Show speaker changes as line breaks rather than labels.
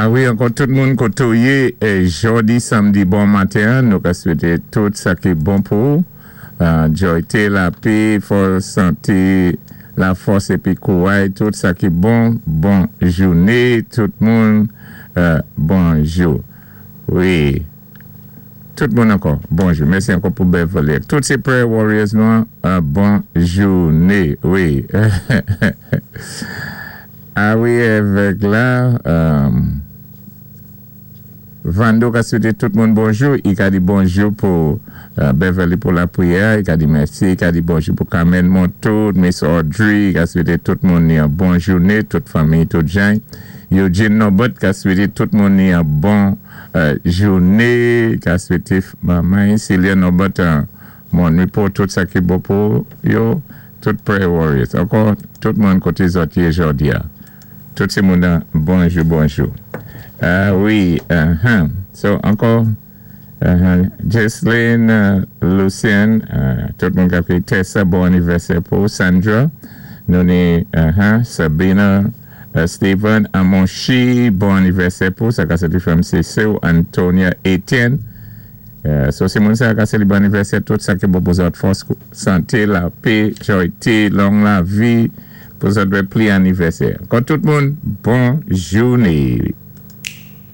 A wi, ankò tout moun koté ou yé jòdi sanmdi bon maten, nou ka swété tout sa ki bon pou ou. Djòyté, lapé, fòs, santé, lafòs épi kouray, tout sa ki bon. Bon jouné tout moun, bonjou. Wi, tout moun ankò, bonjou. Mèsi ankò pou Beverly. Tout sé prayer warriors nou, bon jouné. Wi. A wi, avèk la. Vando ka swété tout moun bonjou, i ka di bonjou pou Beverly pou lapriyè, i ka di mèsi, i ka di bonjou pou Carmen Montour, Miss Audrey, i ka swété tout moun ni yon bon jouné, tout fanmi, tout jan. Eugene Norbert ka swété tout moun ni yon bon jouné, i ka swété manman Celia Norbert bon nwit pou tout sa ki bon pou yo, tout prayer warriors. Ankò tout moun koté zòt yé jòdi a. Tout ti moun nan bonjou bonjou. Ah wi uh-huh. So ankò uh-huh. Jesline, Lucien, tout moun kap ékoute Tessa, bon anivèsè pou Sandra. Nou ni uh-huh, Sabina, Steven, Amonchi, bon anivèsè pou sa ka sé frè Cécile, Antonia, Etienne. So si moun sa ka sélébwé anivèsè, tout sa ki bon pou zòt, fòs, santé, lapé, jòyté, long lavi, pou zòt wè pli anivèsè. Ankò tout moun, bon jouné.